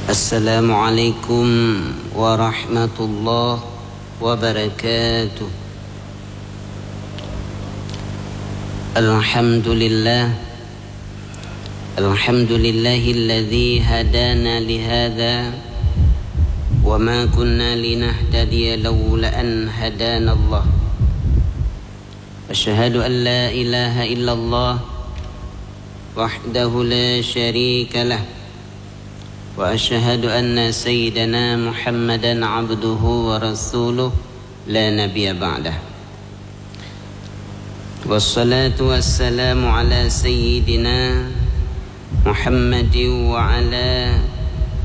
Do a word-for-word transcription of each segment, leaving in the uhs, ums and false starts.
Assalamualaikum warahmatullahi wabarakatuh. Alhamdulillah. Alhamdulillahilladzi hadana lihadza wa ma kunna linahtadiya laula an hadanallah. Asyhadu an la ilaha illallah wahdahu la syarika lah. Wa asyhadu anna sayyidana Muhammadan abduhu wa rasuluh la nabiyya ba'dah. Wassalatu wassalamu ala sayyidina Muhammadin wa ala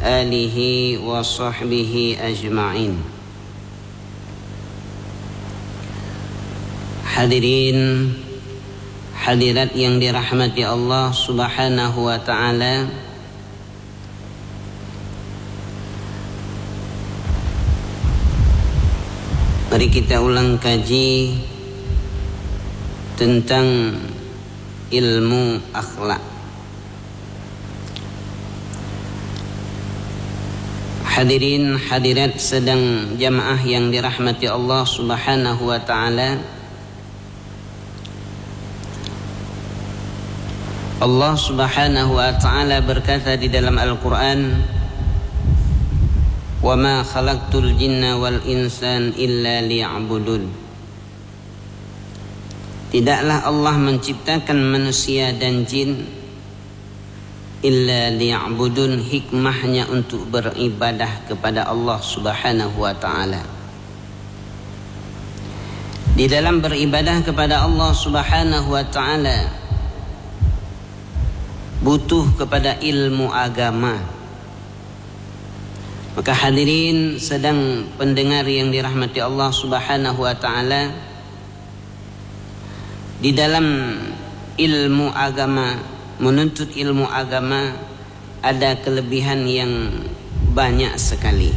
alihi wa sahbihi ajma'in. Hadirin hadirat yang dirahmati Allah Subhanahu wa taala, mari kita ulang kaji tentang ilmu akhlak. Hadirin hadirat sidang jamaah yang dirahmati Allah Subhanahu wa taala, Allah Subhanahu wa taala berkata di dalam Al-Qur'an, "Wa ma khalaqtul jinna wal insan illa liya'budun." Tidaklah Allah menciptakan manusia dan jin illa liya'budun, hikmahnya untuk beribadah kepada Allah Subhanahu wa taala. Di dalam beribadah kepada Allah Subhanahu wa taala butuh kepada ilmu agama. Maka hadirin sidang pendengar yang dirahmati Allah Subhanahu wa taala, di dalam ilmu agama, menuntut ilmu agama, ada kelebihan yang banyak sekali.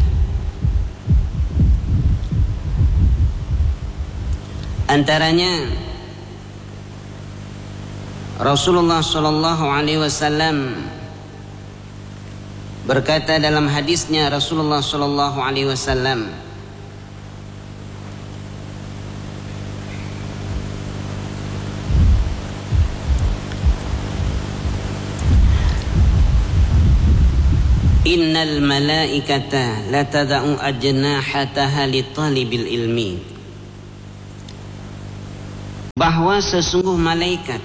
Antaranya, Rasulullah sallallahu alaihi wasallam berkata dalam hadisnya, Rasulullah sallallahu alaihi wasallam, "Innal malaikata latada'u ajnahataha li talibil ilmi." Bahwa sesungguh malaikat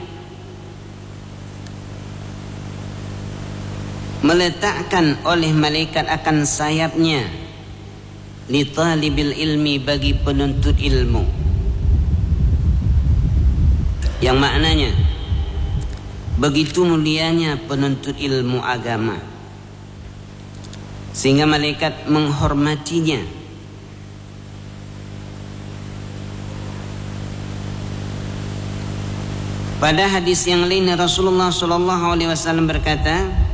meletakkan oleh malaikat akan sayapnya li talibil ilmi, bagi penuntut ilmu. Yang maknanya, begitu mulianya penuntut ilmu agama, sehingga malaikat menghormatinya. Pada hadis yang lain, Rasulullah sallallahu alaihi wasallam berkata,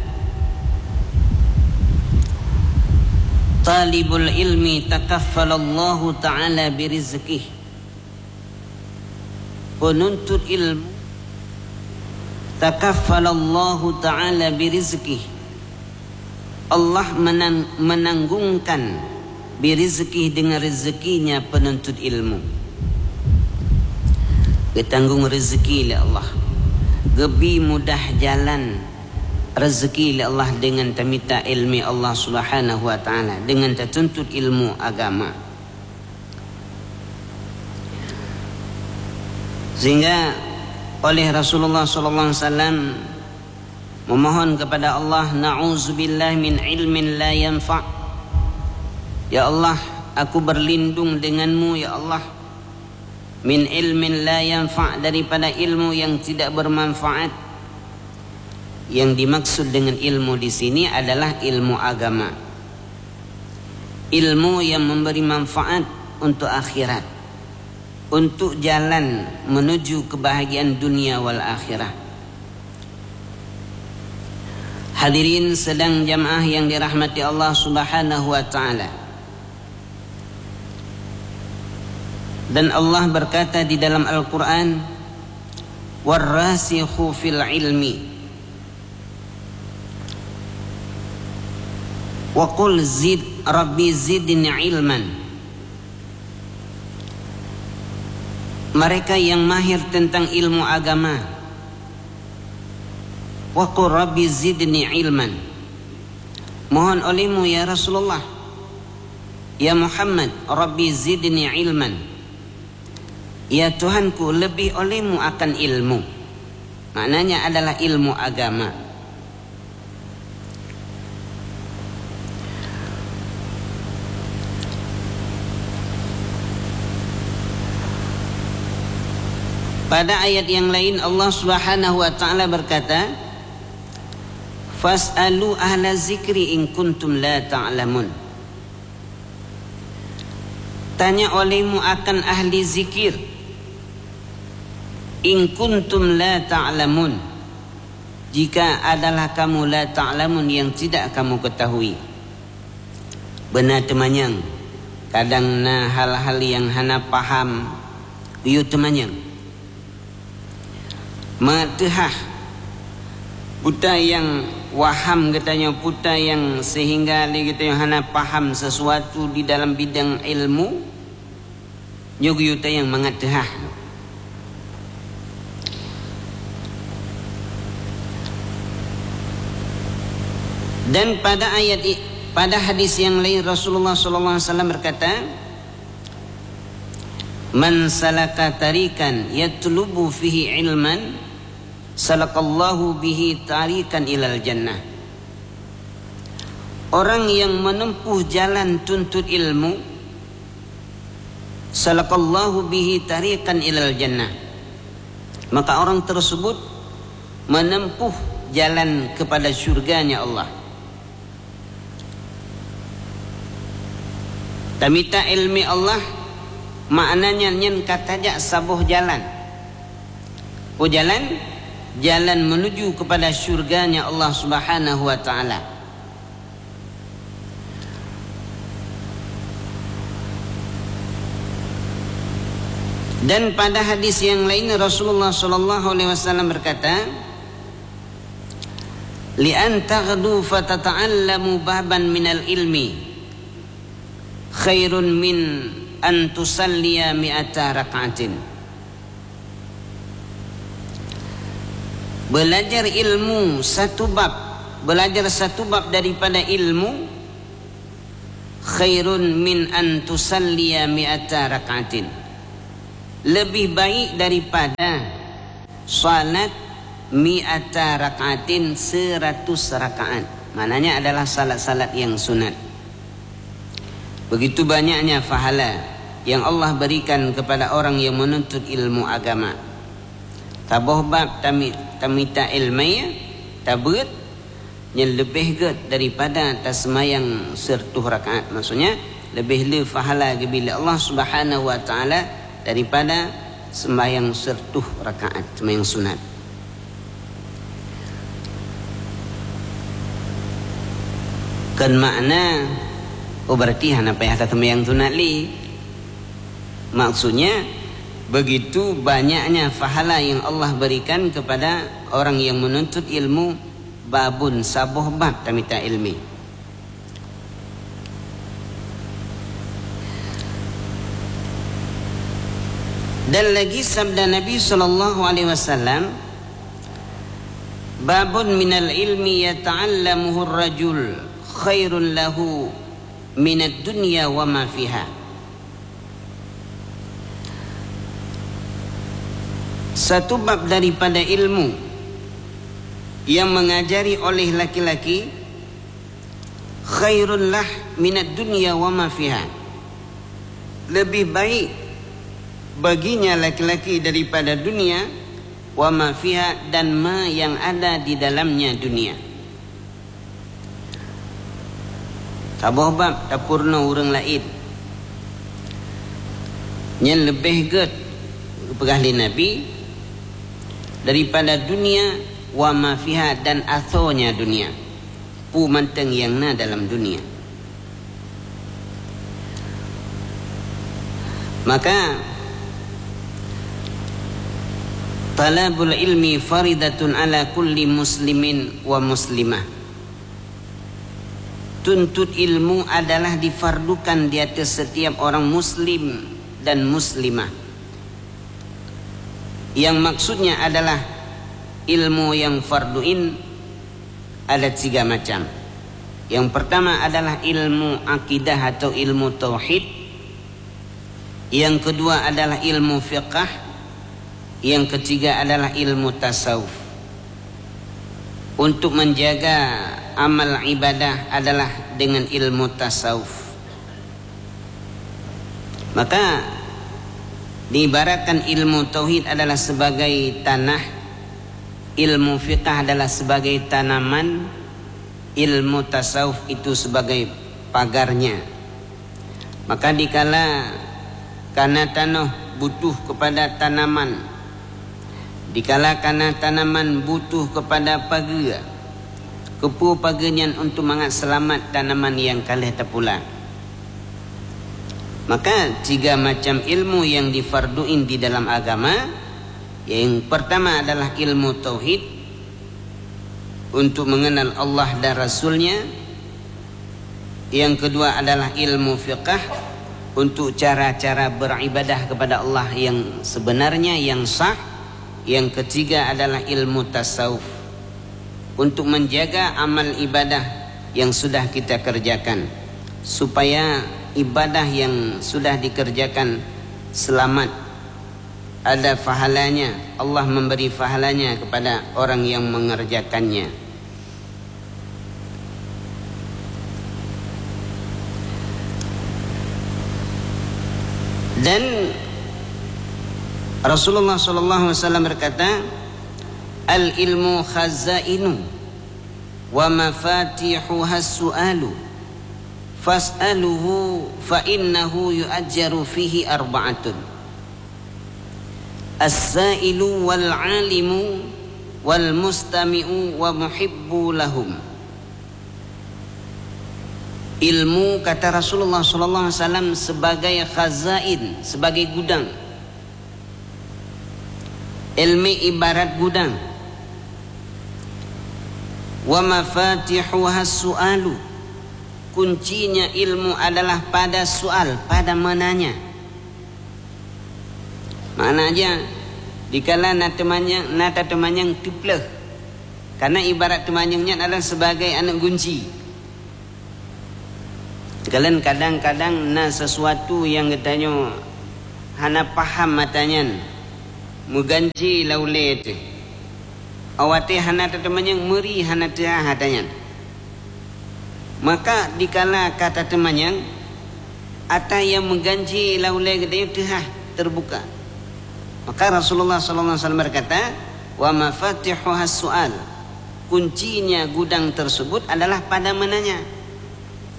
"Talibul ilmi takaffalallahu ta'ala birizqih." Penuntut ilmu, takaffalallahu ta'ala birizqih. Allah menang-, menanggungkan birizqih, dengan rezekinya penuntut ilmu. Geutanggong rezeki lé Allah. Geubi mudah jalan rezeki lé Allah dengan tamita ilmi Allah Subhanahu wa taala, dengan tatuntut ilmu agama. Sehingga oleh Rasulullah sallallahu alaihi wasallam memohon kepada Allah, "Na'udzubillah min ilmin la yanfa'." Ya Allah, aku berlindung denganmu, ya Allah, min ilmin la yanfa', daripada ilmu yang tidak bermanfaat. Yang dimaksud dengan ilmu di sini adalah ilmu agama. Ilmu yang memberi manfaat untuk akhirat, untuk jalan menuju kebahagiaan dunia wal akhirah. Hadirin sidang jamaah yang dirahmati Allah Subhanahu wa taala. Dan Allah berkata di dalam Al-Quran, "Warrasikhu fil ilmi." Wa qul zid, Rabbi zidni ilman. Mereka yang mahir tentang ilmu agama. Wa qul Rabbi zidni ilman. Mohon olehmu, ya Rasulullah, ya Muhammad, Rabbi zidni ilman. Ya Tuhanku, lebih olehmu akan ilmu. Maknanya adalah ilmu agama. Pada ayat yang lain, Allah Subhanahu wa Ta'ala berkata, "Fas'alu ahla zikri in kuntum la ta'lamun." Tanya olehmu akan ahli zikir, "In kuntum la ta'lamun," jika adalah kamu la ta'lamun, yang tidak kamu ketahui. Beuna teumanyong, kadang na hal-hal nyang hana paham, yue teumanyong. Mangat teuhah, peue nyang waham geutanyoe, peue nyang sehingga lé geutanyoe hana paham sesuatu di dalam bidang ilmu, nyoe geuyue tanyong mangat teuhah. Dan pada ayat i-, pada hadis yang lain, Rasulullah sallallahu alaihi wasallam berkata, "Man salaka tariqan yatlubu fihi ilman, salakallahu bihi tariqan ilal jannah." Orang yang menempuh jalan tuntut ilmu, salakallahu bihi tariqan ilal jannah, maka orang tersebut menempuh jalan kepada syurganya Allah. Tamita ilmi Allah, maknanya nyan ka tajak saboh jalan. Peue jalan? Jalan menuju kepada syurganya Allah Subhanahu wa Ta'ala. Dan pada hadis yang lain, Rasulullah sallallahu alaihi wasallam berkata, "Li an taghdu fatata'allamu baban minal ilmi khairun min an tusalliya mi'ata rak'atin." Belajar ilmu satu bab, belajar satu bab daripada ilmu, khairun min an tusalliya mi'ata rak'atin. Lebih baik daripada salat mi'ata rak'atin, seratus rakaat. Maknanya adalah salat-salat yang sunat. Begitu banyaknya pahala yang Allah berikan kepada orang yang menuntut ilmu agama. Saboh bab tami-, tamita ilmu, tabeuet, nyan leubeh gét daripada taseumayang siratuh rakaat. Maksudnya, leubeh le pahala geubri lé Allah Subhanahu wa Ta'ala daripada seumayang siratuh rakaat, seumayang sunat. Kon makna, oh, berarti hana payah taseumayang sunat lé. Maksudnya, begitu banyaknya pahala yang Allah berikan kepada orang yang menuntut ilmu, babun, saboh bab tamita ilmu. Dan lagi sabda Nabi sallallahu alaihi wasallam, "Babun minal ilmi yata'allamuhur rajul khairun lahu minad dunya wa ma fiha." Satu bab daripada ilmu yang mengajari oleh laki-laki khairun lah minad dunya wa ma fiha. Lebih baik baginya laki-laki daripada dunia, wa ma fiha, dan ma yang ada di dalamnya dunia. Saboh bab tapeurunoe ureuëng laén. Nyan leubeh gét, peugah lé Nabi, daripada dunia, wa ma fiha, dan asonya dunia. Peue mantong nyang na dalam dunia. Maka, talabul ilmi faridatun ala kulli muslimin wa muslimah. Tuntut ilmu adalah difardukan di atas setiap orang muslim dan muslimah. Yang maksudnya adalah ilmu yang farduin ada tiga macam. Yang pertama adalah ilmu akidah atau ilmu tauhid. Yang kedua adalah ilmu fiqah. Yang ketiga adalah ilmu tasawuf. Untuk menjaga amal ibadah adalah dengan ilmu tasawuf. Maka diibaratkan ilmu tauhid adalah sebagai tanah, ilmu fiqah adalah sebagai tanaman, ilmu tasawuf itu sebagai pagarnya. Maka dikala kana tanoh butuh kepada tanaman, dikala kana tanaman butuh kepada pageue, keupeue pageue nyan untuk mangat seulamat tanaman nyang ka lheueh tapula. Maka tiga macam ilmu yang difarduin di dalam agama, yang pertama adalah ilmu tauhid untuk mengenal Allah dan Rasul-Nya, yang kedua adalah ilmu fiqah untuk cara-cara beribadah kepada Allah yang sebenarnya, yang sah. Yang ketiga adalah ilmu tasawuf untuk menjaga amal ibadah yang sudah kita kerjakan, supaya ibadah yang sudah dikerjakan selamat, ada pahalanya, Allah memberi pahalanya kepada orang yang mengerjakannya. Dan Rasulullah sallallahu alaihi wasallam berkata, "Al-ilmu khazainu wa mafatihuhas su'alu, fas'aluhu fa innahu yu'ajjaru fihi arba'atun. As-sa'ilu wal 'alimu wal mustami'u wa muhibbu lahum." Ilmu, kata Rasulullah sallallahu alaihi wasallam, sebagai khazain, sebagai gudang. Ilmu ibarat gudang. Wa mafatihuhas su'alu. Kuncinya ilmu adalah pada soal, pada menanya. Maknanya, dikala na teumanyong, na tateumanyong, teupleuh. Karena ibarat teumanyong nyan adalah sebagai aneuk gunci. Kalon kadang-kadang na sesuatu nyang geutanyoe hana paham ata nyan, meuganji lam ulée teuh. Awai watée hana tateumanyong, meuri hana teuhah ata nyan. Maka dikala ka tateumanyong, ata nyang meuganji lam ulée geutanyoe teuhah teubuka. Maka Rasulullah sallallahu alaihi wasallam berkata, "Wa mafatihuhas su'al." Kuncinya gudang tersebut adalah pada menanya.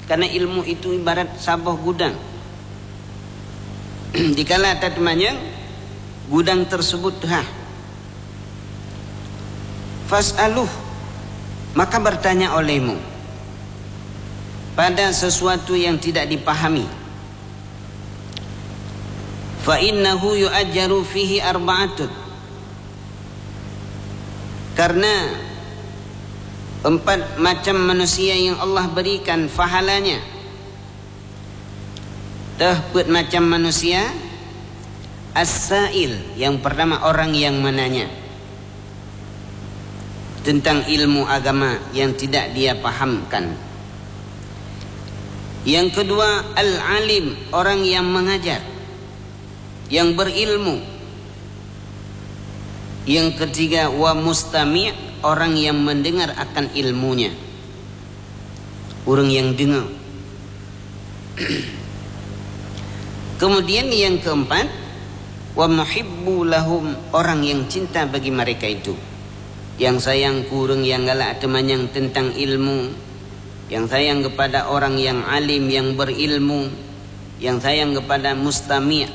Karena ilmu itu ibarat saboh gudang. Dikala tateumanyong, gudang tersebut teuhah. Fas'aluh, maka bertanya olehmu pada sesuatu yang tidak dipahami. Fa innahu yu'ajjaru fihi arba'atun. Karena empat macam manusia yang Allah berikan pahalanya. Teuh peuet macam manusia, as-sa'il, yang pertama orang yang menanya tentang ilmu agama yang tidak dia pahamkan. Yang kedua, al-alim, orang yang mengajar, yang berilmu. Yang ketiga, wa mustami', orang yang mendengar akan ilmunya. Ureuëng nyang deungoe. Kemudian yang keempat, wa muhibbu lahum, orang yang cinta bagi mereka itu. Yang sayang keu ureuëng nyang galak teumanyong tentang ilmu, yang sayang kepada orang yang alim, yang berilmu, yang sayang kepada mustami',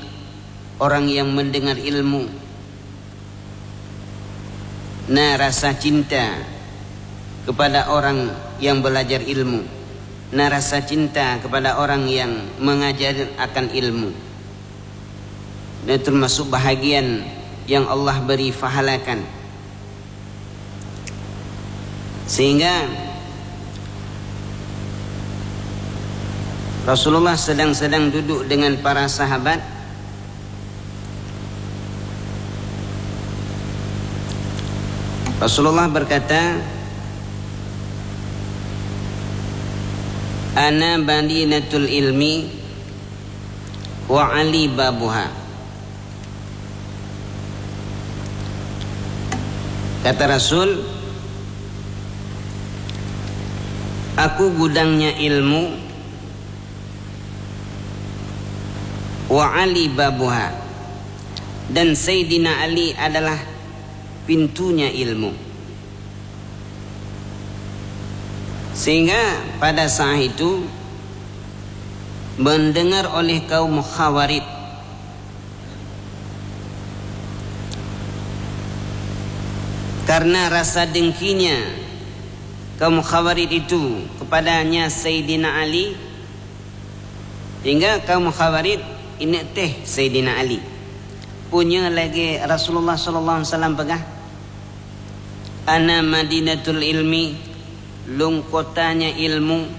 orang yang mendengar ilmu. Na rasa cinta kepada orang yang belajar ilmu. Na rasa cinta kepada orang yang mengajar akan ilmu. Dan termasuk bahagian yang Allah beri pahalakan. Sehingga Rasulullah sedang-sedang duduk dengan para sahabat. Rasulullah berkata, "Ana madinatul ilmi wa Ali babuha." Kata Rasul, "Aku gudangnya ilmu, wa Ali babuha, dan Sayyidina Ali adalah pintunya ilmu." Sehingga pada saat itu, mendengar oleh kaum Khawarij, karena rasa dengkinya kaum Khawarij itu kepadanya Sayyidina Ali, sehingga kaum Khawarij ineuk teh Sayyidina Ali. Punya lagi Rasulullah sallallahu alaihi wasallam peugah, "Ana madinatul ilmi, lôn kotanya ilmu,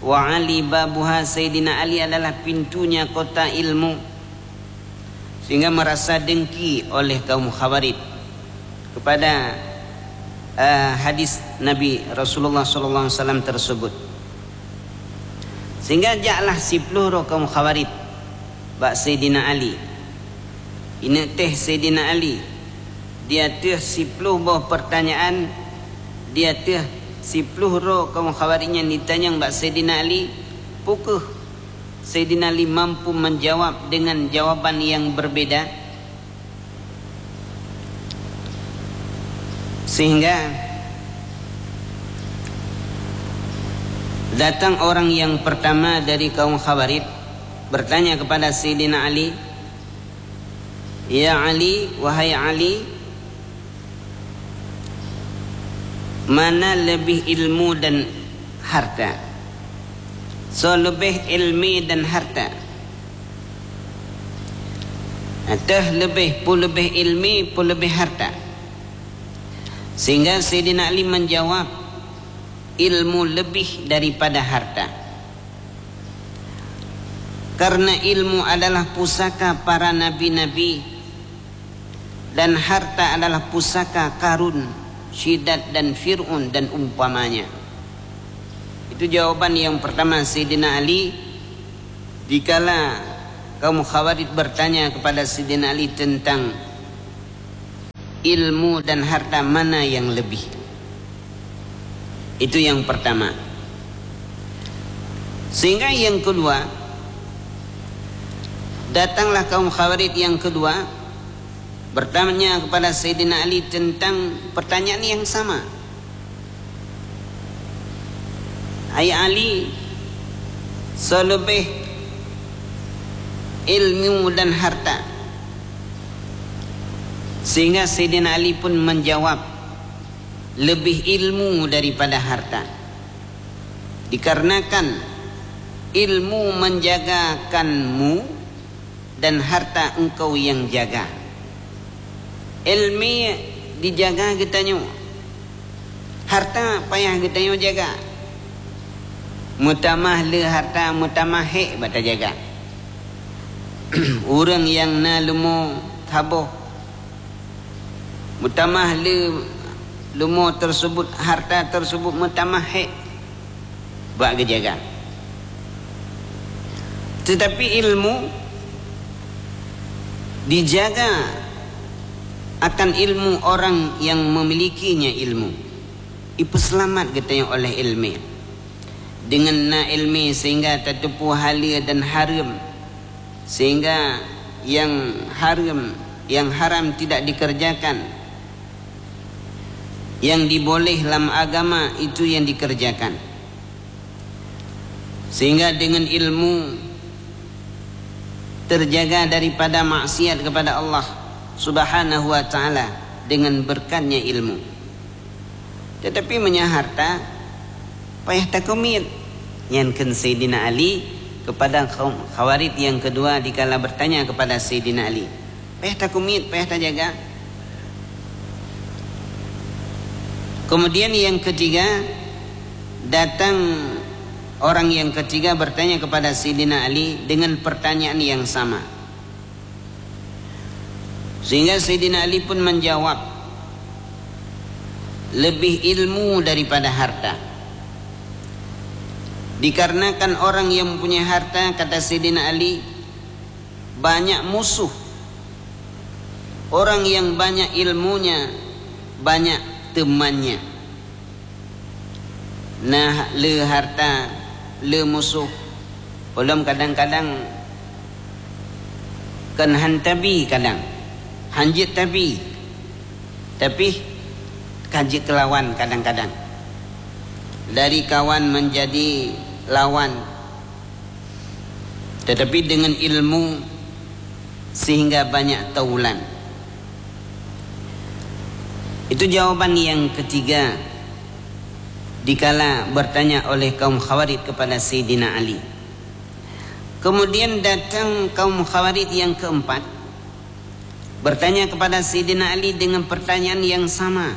wa Ali babuha, Sayyidina Ali adalah pintunya kota ilmu." Sehingga merasa dengki oleh kaum Khawarij kepada, eh, hadis Nabi Rasulullah sallallahu alaihi wasallam tersebut. Sehingga jaklah siploh droe kaum Khawarij bak Saidina Ali. Ineuk teh Saidina Ali, di ateueh siploh boh peurtanyaan, di ateueh siploh droe kaum Khawarij nyan jitanyong bak Saidina Ali, peu kheueh Saidina Ali mampu menjawab dengan jawaban yang berbeda. Sehingga datang orang yang pertama dari kaum Khawarij bertanya kepada Saidina Ali, "Ya Ali, wahai Ali, mana lebih ilmu dan harta?" Soe leubeh ilmi dan harta? Ateueh leubeh, peu leubeh ilmi, peu leubeh harta? Sehingga Saidina Ali menjawab, "Ilmu lebih daripada harta." Karena ilmu adalah pusaka para nabi-nabi, dan harta adalah pusaka Karun, Syidat, dan Fir'aun, dan umpamanya. Itu jawaban yang pertama Saidina Ali dikala kaum Khawarij bertanya kepada Saidina Ali tentang ilmu dan harta mana yang lebih. Itu yang pertama. Sehingga yang kedua, datanglah kaum Khawarij yang kedua bertanya kepada Saidina Ali tentang pertanyaan yang sama. "Hai Ali, soe leubeh ilmu dan harta?" Sehingga Saidina Ali pun menjawab, "Lebih ilmu daripada harta. Dikarenakan ilmu menjagakanmu, dan harta engkau yang jaga." Ilmi dijaga geutanyoe, harta payah geutanyoe jaga. Meutamah le harta, meutamah hék bak tajaga. Ureuëng nyang na leumo saboh, meutamah le leumo tersebut, harta tersebut meutamah hék bak geujaga. Tetapi ilmu dijaga akan ilmu orang yang memilikinya ilmu. Ipeuseulamat geutanyoe oleh ilmi. Dengan na ilmi sehingga tateupeue haleue dan hareuem, sehingga yang hareuem, yang haram tidak dikerjakan, yang diboleh lam agama itu yang dikerjakan. Sehingga dengan ilmu terjaga daripada maksiat kepada Allah Subhanahu wa Ta'ala dengan berkatnya ilmu. Tetapi meunyo harta, payah takumiet. Nyan kheun Saidina Ali kepada kaum Khawarij yang kedua dikala bertanya kepada Saidina Ali. Payah takumiet, payah tajaga. Kemudian yang ketiga, datang Orang yang ketiga bertanya kepada Sayyidina Ali dengan pertanyaan yang sama. Sehingga Sayyidina Ali pun menjawab, "Lebih ilmu daripada harta." Dikarenakan orang yang punya harta, kata Sayyidina Ali, banyak musuh. Orang yang banyak ilmunya, banyak temannya. Nah, le harta, le musuh. Ulôn kadang-kadang kon han tabi kadang. Han jeuet tabi. Tapi ka jeuet keu lawan kadang-kadang. Dari kawan menjadi lawan. Tetapi dengan ilmu sehingga banyak taulan. Itu jawaban yang ketiga dikala bertanya oleh kaum Khawarij kepada Sayyidina Ali. Kemudian datang kaum Khawarij yang keempat, bertanya kepada Sayyidina Ali dengan pertanyaan yang sama,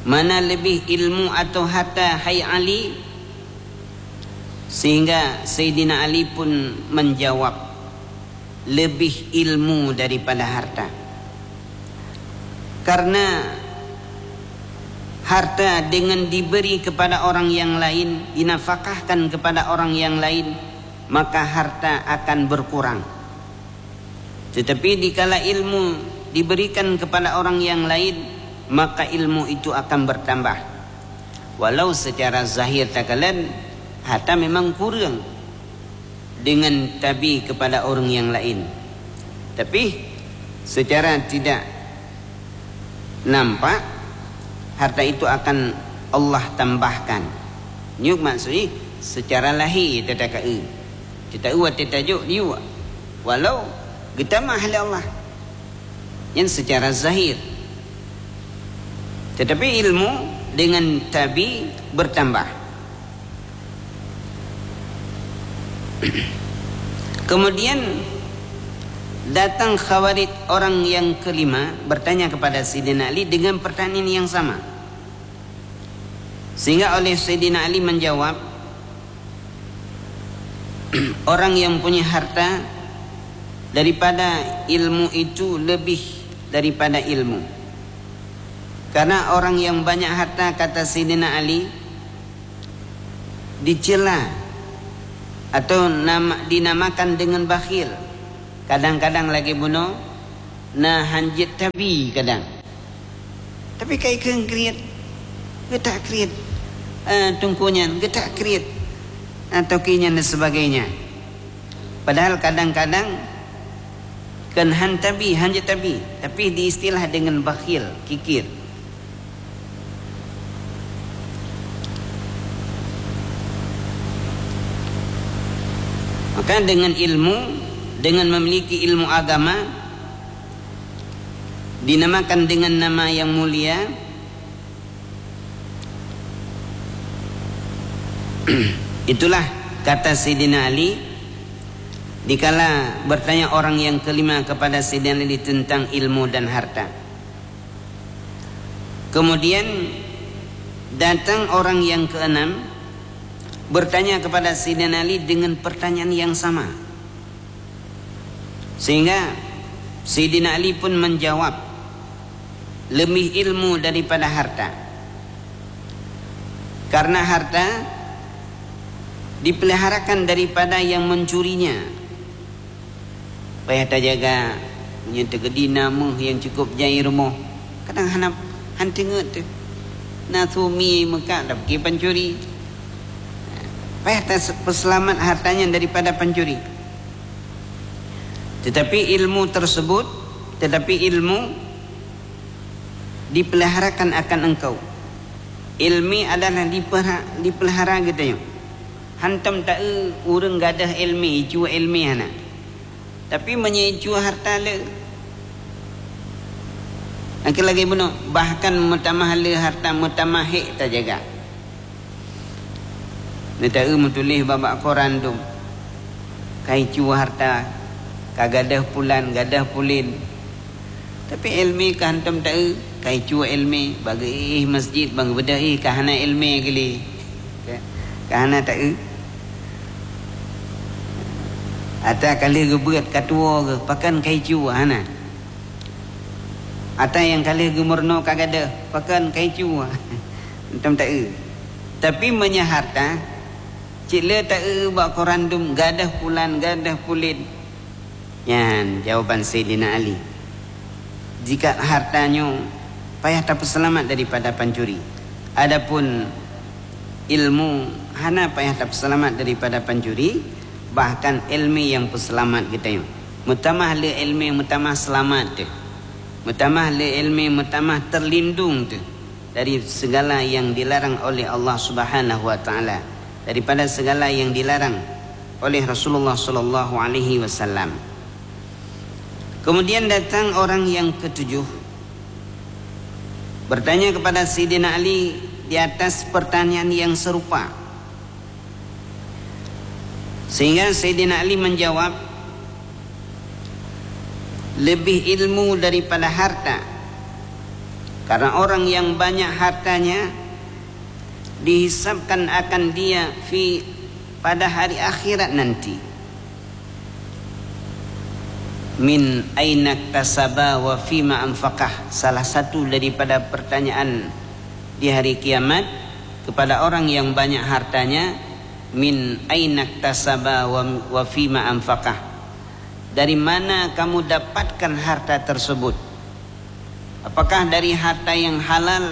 "Mana lebih ilmu atau harta, hai Ali?" Sehingga Sayyidina Ali pun menjawab, "Lebih ilmu daripada harta." Karena harta dengan diberi kepada orang yang lain, dinafakahkan kepada orang yang lain, maka harta akan berkurang. Tetapi dikala ilmu diberikan kepada orang yang lain, maka ilmu itu akan bertambah. Walau secara zahir takalon, harta memang kurang dengan tabi kepada orang yang lain. Tapi secara tidak nampak, harta itu akan Allah tambahkan. Nyoe maksudnya secara lahé teuka-eu. Teuka-eu watée tajok diyue. Walau geutamah lé Allah. Nyan secara zahir. Tetapi ilmu dengan tabi bertambah. Kemudian datang Khawarij orang yang kelima bertanya kepada Sayyidina Ali dengan pertanyaan yang sama. Sehingga oleh Sayyidina Ali menjawab, "Orang yang punya harta daripada ilmu itu lebih daripada ilmu." Karena orang yang banyak harta, kata Sayyidina Ali, dicela atau nama, dinamakan dengan bakhil. Kadang-kadang lagée bunoe na han jeuet tabi kadang. Tapi kai kheun kriet, geutak kriet. Eh, teungku nyan geutak kriet. Atau ki nyan dan sebagainya. Padahal kadang-kadang kon han tabi, han jeuet tabi, tapi diistilah dengan bakhil, kikir. Maka dengan ilmu, dengan memiliki ilmu agama, dinamakan dengan nama yang mulia, itulah kata Sayyidina Ali, dikala bertanya orang yang kelima kepada Sayyidina Ali tentang ilmu dan harta. Kemudian datang orang yang keenam bertanya kepada Sayyidina Ali dengan pertanyaan yang sama. Sehingga Sayyidina Ali pun menjawab, "Lebih ilmu daripada harta." Karena harta dipeliharakan daripada yang mencurinya. Payah tajaga, meunyoe teugeudi na méuh nyang cukup jai rumoh, kadang hana, han teungeut teuh. Na su mie meukat, tapi pancuri. Payah ta-, peuseulamat harta nyan daripada pancuri. Tetapi ilmu tersebut, tetapi ilmu dipeliharakan akan engkau. Ilmi adalah dipelha-, dipelihara geutanyoe. Hantom taeu ureuëng gadôh ilmi, icue ilmi hana. Tapi meunyoe icue harta le, akhé lagée bunoe, bahkan meutamah le harta, meutamah hék tajaga. Neutaeu meutuléh bak-bak koran dum, ka icue harta, ka gadôh pulan, gadôh pulin. Tapi ilmi ka hantom taeu, ka icue ilmi, bagi ih masjid, bang beudôh ih ka hana ilmi gili. Ka hana taeu. Ata ka lheueh geubeuet ka tuwoe geuh, pakon kai cue hana. Ata nyang ka lheueh geumeurunoe ka gadôh, pakon kai cue. Hantom taeu. Tapi meunyoe harta, cit le taeu bak koran dum gadôh pulan, gadôh pulen. Nyan jawaban Saidina Ali. Jika harta nyoe payah tapeuseulamat daripada pancuri. Adapun ilmu hana payah tapeuseulamat daripada pancuri, bahkan ilmu nyang peuseulamat geutanyoe. Meutamah le ilmu, meutamah seulamat teuh. Meutamah le ilmu, meutamah terlindung teuh dari segala yang dilarang oleh Allah Subhanahu wa Taala, daripada segala yang dilarang oleh Rasulullah sallallahu alaihi wasallam. Kemudian datang orang yang ketujuh, bertanya kepada Saidina Ali di atas pertanyaan yang serupa. Sehingga Saidina Ali menjawab, "Lebih ilmu daripada harta, karena orang yang banyak hartanya dihisabkan akan dia fi, pada hari akhirat nanti. Min aina iktasaba wa fima anfaqah." Salah satu daripada pertanyaan di hari kiamat kepada orang yang banyak hartanya, "Min aina iktasaba wa, wa fima anfaqah?" Dari mana kamu dapatkan harta tersebut? Apakah dari harta yang halal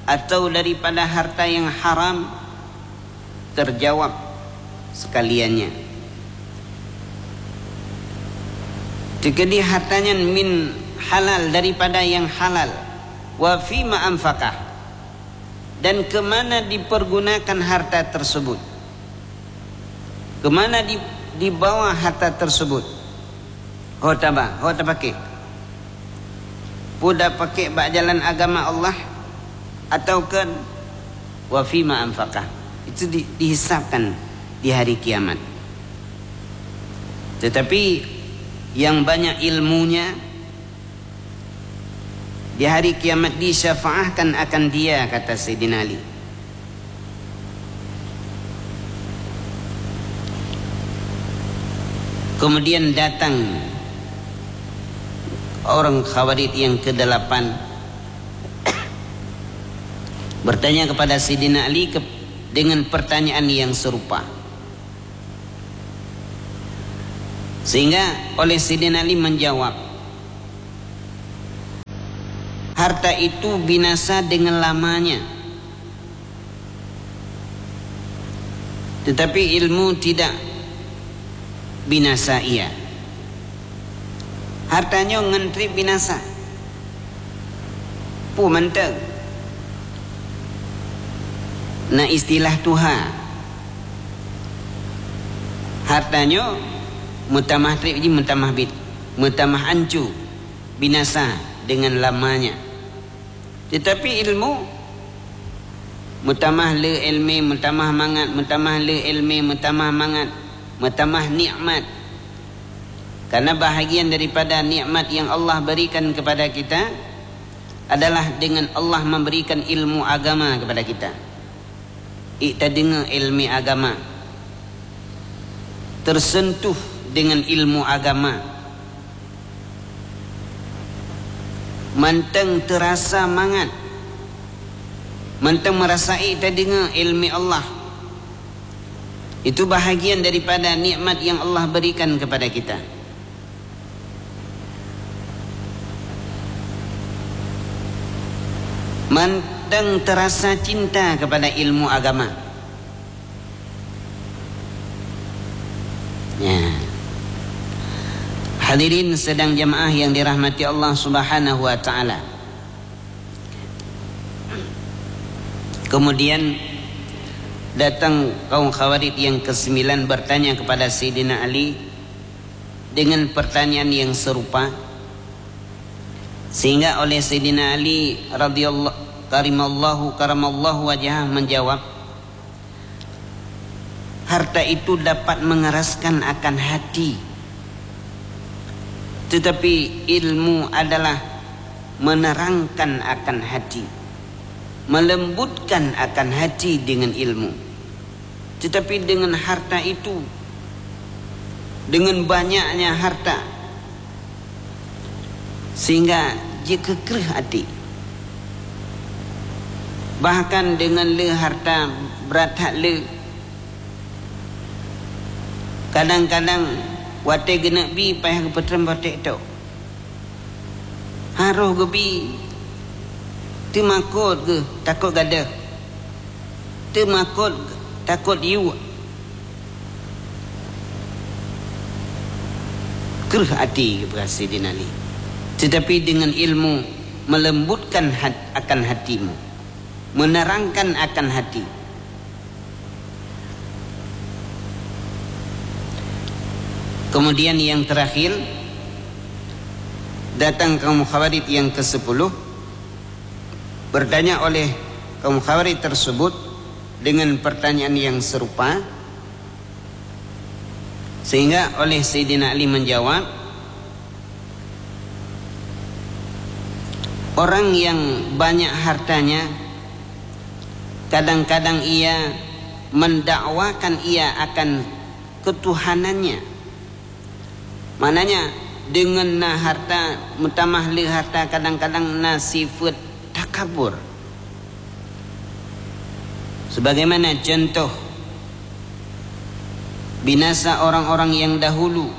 atau daripada harta yang haram? Terjawab sekaliannya. Teukeudi harta nyan min halal, daripada yang halal. Wa fima anfaqah. Dan ke mana dipergunakan harta tersebut? Ke mana di, dibawa harta tersebut? Ho taba, ho tapaké. Peue tapaké bak jalan agama Allah, ataukah wa fima anfaqah? Itu di, dihisabkan di hari kiamat. Tetapi yang banyak ilmunya, di hari kiamat disyafaahkan akan dia, kata Saidina Ali. Kemudian datang orang Khawarij yang kedelapan bertanya kepada Saidina Ali ke, dengan pertanyaan yang serupa. Sehingga oleh Saidina Ali menjawab, "Harta itu binasa dengan lamanya, tetapi ilmu tidak binasa ia." Harta nyoe ngon treb binasa. Peue mantong? Na istilah tuha. Harta nyoe meutamah treb jih meutamah bit, meutamah ancu, binasa dengan lamanya. Tetapi ilmu meutamah le ilmu, meutamah mangat, meutamah le ilmu, meutamah mangat, meutamah nikmat. Karena bahagian daripada nikmat yang Allah berikan kepada kita adalah dengan Allah memberikan ilmu agama kepada kita. Ita deungoe ilmu agama, tersentuh dengan ilmu agama, mantong terasa mangat, mantong merasai ita deungoe ilmu Allah. Itu bahagian daripada nikmat yang Allah berikan kepada kita. Mantong terasa cinta kepada ilmu agama. Ya. Hadirin sidang jamaah yang dirahmati Allah Subhanahu wa Taala. Kemudian datang kaum Khawarij yang kesembilan bertanya kepada Saidina Ali dengan pertanyaan yang serupa, sehingga oleh Saidina Ali radhiyallahu karimallahu karamallahu wajhah menjawab, "Harta itu dapat mengeraskan akan hati, tetapi ilmu adalah menerangkan akan hati, melembutkan akan hati dengan ilmu." Tetapi dengan harta itu, dengan banyaknya harta, sehingga jikeukreuh até. Bahkan dengan le harta brat that le, kadang-kadang watée geuneuk bi payah geupeutrön boh ték tok. Harôh geubi, teumakot geuh takot gadôh, teumakot takot yuek. Kreuh até geupeugah Saidina Ali. Tetapi dengan ilmu melembutkan hat-, akan hatimu, menerangkan akan hati. Kemudian yang terakhir, datang kaum Khawarij yang kesepuluh, bertanya oleh kaum Khawarij tersebut dengan pertanyaan yang serupa, sehingga oleh Saidina Ali menjawab, orang yang banyak hartanya, kadang-kadang ia mendakwakan ia akan ketuhanannya. Maknanya, dengan na harta, meutamah le harta, kadang-kadang na sifat takabur. Sebagaimana contoh binasa orang-orang yang dahulu,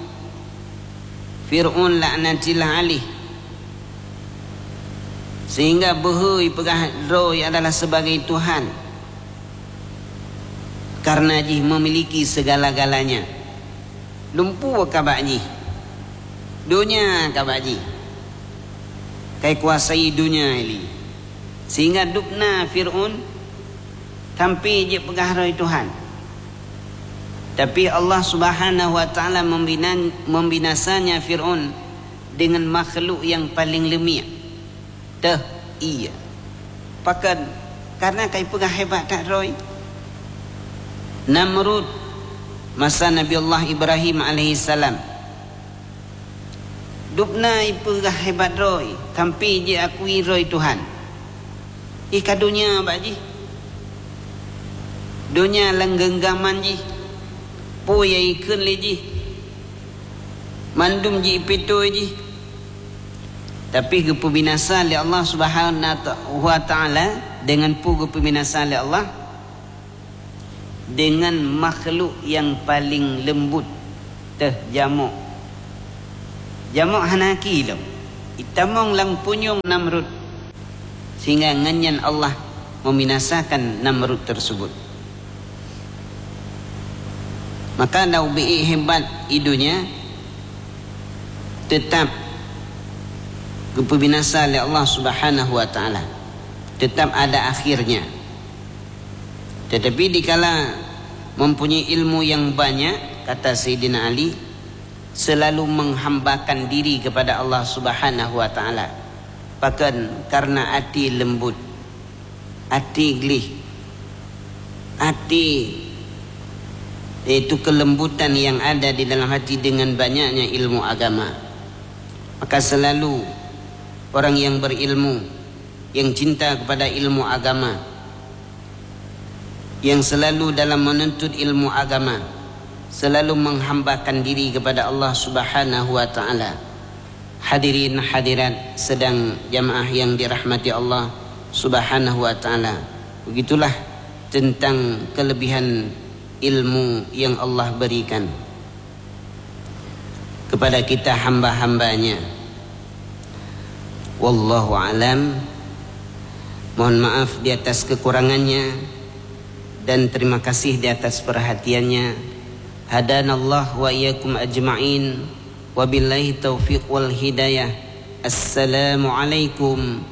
Fir'aun laknatillah alaih, sehingga beuhe ipeugah droe adalah sebagai Tuhan, karena jih memiliki segala-galanya. Lumpu ka bak jih, donya ka bak jih, kai kuasai donya ilée, sehingga dubna Fir'aun sampai jipeugah droe Tuhan. Tapi Allah Subhanahu wa Ta'ala membina-, membinasanya Fir'aun dengan makhluk yang paling leumiek. Teuh, iya. Pakon? Karena kai peugah hebat that droe. Namrud, masa Nabi Allah Ibrahim alaihissalam, dubna ipeugah hebat droe, sampai jiakui droe Tuhan. Ih ka donya bak jih. Donya lam genggaman jih. Peue nyang ikheun lé jih, mandum jiipitu jih. Tapi geupeubinasa lé Allah Subhanahu wa Ta'ala. Dengan peue geupeubinasa lé Allah? Dengan makhluk yang paling lembut, teuh jamok. Jamok hana aki lom. Itamong lam punyueng Namrud. Sehingga ngon nyan Allah membinasakan Namrud tersebut. Maka lau biék hebat i donya, tetap geupeubinasa lé Allah Subhanahu wa Ta'ala. Tetap ada akhirnya. Tetapi dikala mempunyai ilmu yang banyak, kata Saidina Ali, selalu menghambakan diri kepada Allah Subhanahu wa Ta'ala. Pakon? Karena até lembut, até gleh, até, yaitu kelembutan yang ada di dalam hati dengan banyaknya ilmu agama. Maka selalu orang yang berilmu, yang cinta kepada ilmu agama, yang selalu dalam menuntut ilmu agama, selalu menghambakan diri kepada Allah Subhanahu wa Ta'ala. Hadirin hadirat sidang jamaah yang dirahmati Allah Subhanahu wa Ta'ala, begitulah tentang kelebihan ilmu yang Allah berikan kepada kita hamba-hamba-Nya. Wallahu alam. Mohon maaf di atas kekurangannya dan terima kasih di atas perhatiannya. Hadanallah wa iyyakum ajma'in. Wabillahi taufiq wal hidayah. Assalamualaikum